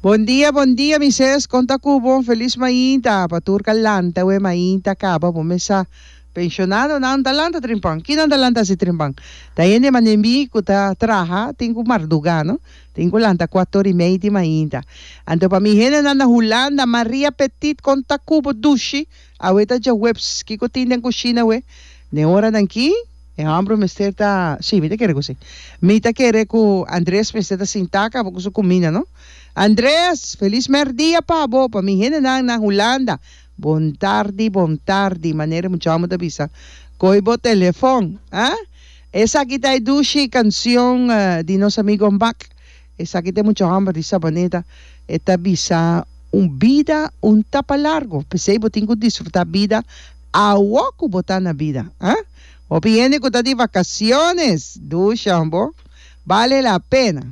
Bon dia, bon dia mi ses, kon ta ku bo? Felis mainta pa tur ka lanta we mainta kaba bo mesa. Pensionadonan ta lanta trimpan. Kinan ta lanta asi trimpan? Ta hende mane mi ku ta traha tin ku marduga no. Tin ku lanta kuator i mei di mainta. Anto pa mi hendenan na Hulanda, Maria Petit kon ta ku bo dushi? Awe ta djaweps, kiko tin den kushina awe? Den oranan ki e hòmber mester ta, sí, mi ta kere ku sí. Mi ta kere ku Andres mester ta sintá kaba ku su kuminda, no? Andres, felis mèrdia pa bo, pa mi hendenan na Hulanda. Bon tardi, bon tardi, manera e mucha hòmber ta bisa. Kohe bo telefòn, ah? Esaki ta e dushi kansion di nos amigo Mbak. Esaki ta e mucha hòmber di Sabaneta. E ta bisa, Un bida un ta pa largo, p'esei bo tin ku disfrutá bida awor ku bo ta na bida. Ah? Hopi hende ku ta di vakasiones, dusha bo, bale la pena.